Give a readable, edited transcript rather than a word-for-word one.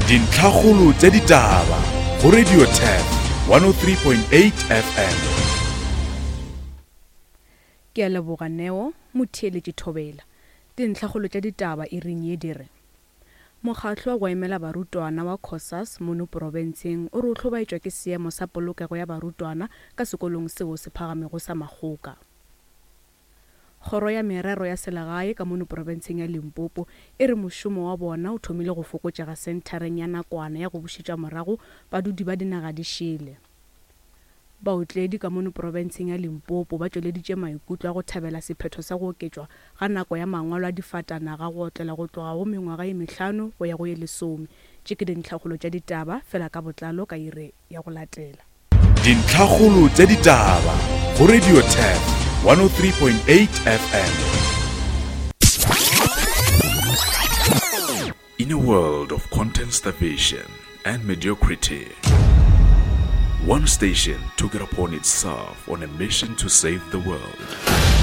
Dintlhakgolo tša ditaba go Radio Turf 103.8 FM. Ke a leboga Neo, motheeletši Thobela. Dintlhakgolo tša ditaba iring ye di re, Mokgatlo wa go emela barutwana wa Cosas mono porofenseng o re o hlobaetšwa ke seemo sa polokego ya barutwana ka sekolong seo se phagamego sa Makgoka. Kgoro ya Merero ya Selegae ka mono porofenseng ya Limpopo e re mošomo wa bona o thomile go fokotšega senthareng ya nakwana ya go bušetša morago badudi ba dinaga di šele. Baotledi ka mono porofenseng ya Limpopo ba tšweleditše maikutlo a go thabela sephetho sa go oketšwa ga nako ya mangwalo a difatanaga go otlela go tloga go mengwaga ye mehlano go ya go ye lesome. Tše ke dintlhakgolo tša ditaba fela ka botlalo ka ire ya go latela. Dintlhakgolo tša ditaba go Radio Turf 103.8 FM. In a world of content starvation and mediocrity, one station took it upon itself on a mission to save the world.